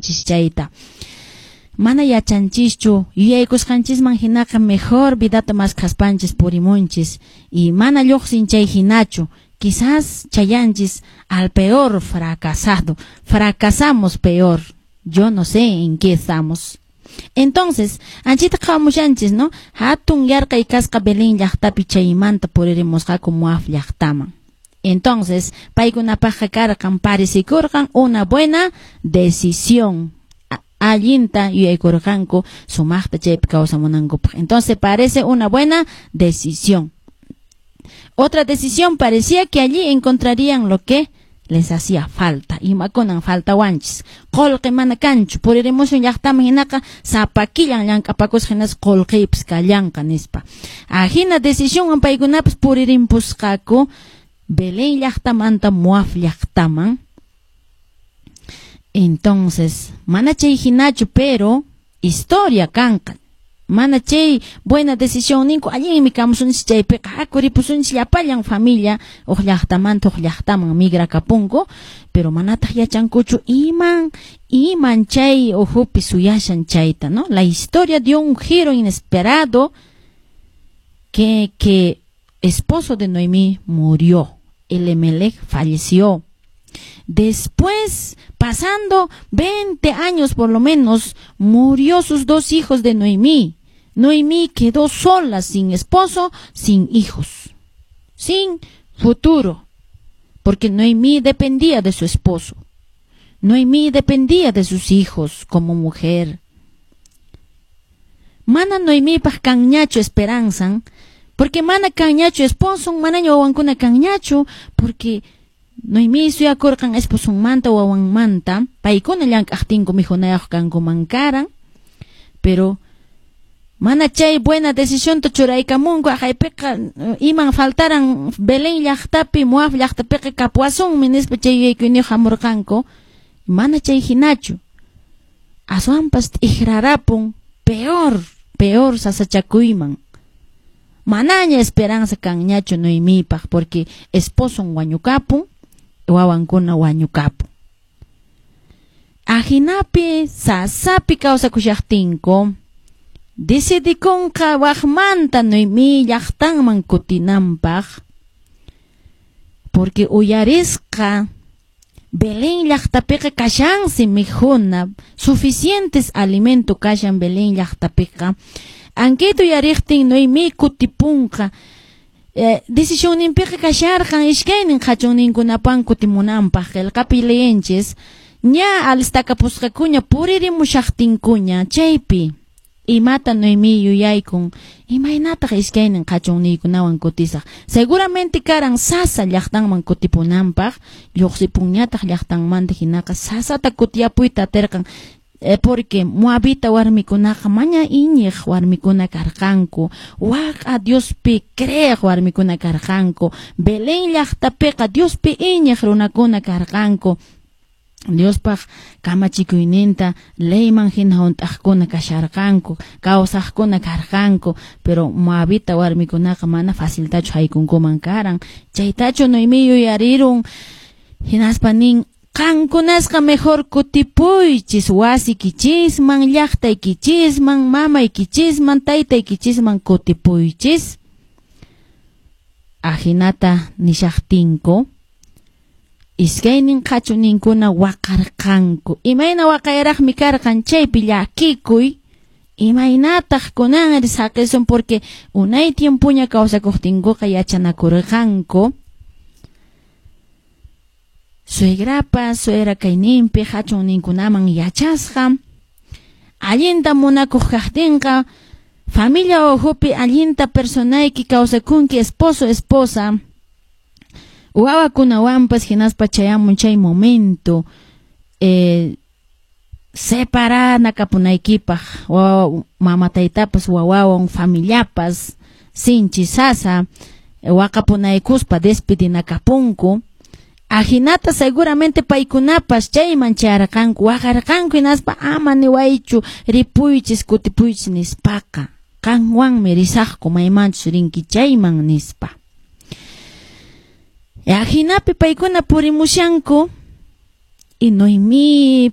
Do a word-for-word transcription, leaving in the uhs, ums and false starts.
Kawsamunchis chayta. Mana yachanchischu, yuyaykusqanchisman hinaqa mejor vidata maskhaspanchis purimunchis y mana lluqsin chay hinachu. Quizás chayanchis al peor fracasado, fracasamos peor. Yo no sé en qué estamos. Entonces, anchita qhawamushanchis, ¿no? Hatun yarqay kasqa Belén llaqtapi, chaymanta puririmusqaku Moab llaqtaman. Entonces, paykunapaqqa karqan, parecikurqan una buena decisión. Allinta yuyaykurqanku sumaqta chaypi kawsamunankupaq. Entonces, parece una buena decisión. Otra decisión: parecía que allí encontrarían lo que les hacía falta. Imakunan faltawanchis? Qullqi mana kanchu, puririmusun llaqtaman, hinaqa sapa killan llank'apakusqa hinaspa qullqiypis kallanqa nispa. Ahina decisionwan paykunapas puririmpusqaku Belén llaqtamanta Moab llaqtaman. Entonces, mana chay hinachu, pero historia kanqa. Mana chay buena decisión ninku allinmi kamusunchis chaypiqa, haku ripusunchis llapallan familia huk llaqtamanta huk llaqtaman migrakapunku, pero manataq yachankuchu iman iman chay ukhupi suyashan chayta, ¿no? La historia dio un giro inesperado que, que esposo de Noemí murió, Elimelech falleció. Después, pasando veinte años por lo menos, murió sus dos hijos de Noemí. Noemí quedó sola, sin esposo, sin hijos, sin futuro, porque Noemí dependía de su esposo. Noemí dependía de sus hijos como mujer. Mana Noemípaq kanñachu esperanza, porque mana kanñachu esposo, manaña wawankuna kanñachu, porque Noemí suyakurqan esposonmanta, wawanmanta, paykuna llank'aqtinku mikhunayuq kankuman karan, pero mana chay buena decisionta churaykamunku, haqaypiqa iman faltaran Belén llaqtapi, Moab llaqtapiqa kapuwasunmi nispa chay yuyakuyniyuq hamurqanku, mana chay hinachu. Aswanpas t'ikrarapun peor, peor sasachakuyman. Manaña esperanza kanñachu Noemípaq, porque esposon wañukapun, wawankuna wañukapun. Ahinapi sasapi kawsakushaqtinku, decidikunqa waqmanta Noemí llaqtanman kutinanpaq, porque uyarisqa Belén llaqtapiqa kashansi mikhuna, suficientes alimento kashan Belén llaqtapiqa. Ankayta uyariqtin Noemí kutipunqa. Eh, decisionninpiqa kasharqan iskaynin qhachunninkunapan kutimunanpaq, qillqapi leyenchis, ña alistakapusqakuña puririmushaqtinkuña chaypi imata Noemí yuyaykun: imaynataq iskaynin qhachunniykunawan kutisaq? Seguramente karan sasa llaqtanman kutipunanpaq, lluqsipunñataq llaqtanmanta hinaqa sasata kutiyapuyta atirqan, eh, porque moabita warmikunaqa maña iñiq warmikuna karqanku, waq'a Diospi creeq warmikuna karqanku. Belén llaqtapiqa Diospi iñiq runakuna karqanku, Diospaq kamachikuyninta leyman hina hunt'aqkuna kasharqanku, kawsaqkuna karqanku, pero moabita warmikunaqa mana faciltachu haykunkuman karan. Chaytachu Noemí yuyarirun, hinaspa nin: qankunasqa mejor kutipuychis wasiykichisman, llaqtaykichisman, mamaykichisman, taytaykichisman kutipuychis. Ahinata nishaqtinku, iskaynin qhachuninkuna waqarqanku. Imayna waqayraqmi karqan chaypi llakikuy, imaynataq kunanri saqisun, porque unay tiempoña kawsakuqtinkuqa yachanakurqanku. Suegrapas, suegra kayninpi qhachunninkunaman yachasqa, allinta munakuq kaqtinqa, familia ukhupi allinta personayki kawsakunki, esposo, esposa, wawakunawanpas, hinaspa chayamun chay momento eh, separanakapunaykipaq, wawa mama taytapas wawawan familiapas sinchi sasa waqapunaykuspa despedinakapunku. Ahinata seguramente paykunapas chayman chayarqanku, waqarqanku, hinaspa ama niwaychu ripuychis kutipuychis nispaqa, qanwanmi risaqku maymanchus rinki chayman nispa. Ahinapi paykuna purimushanku y Noemí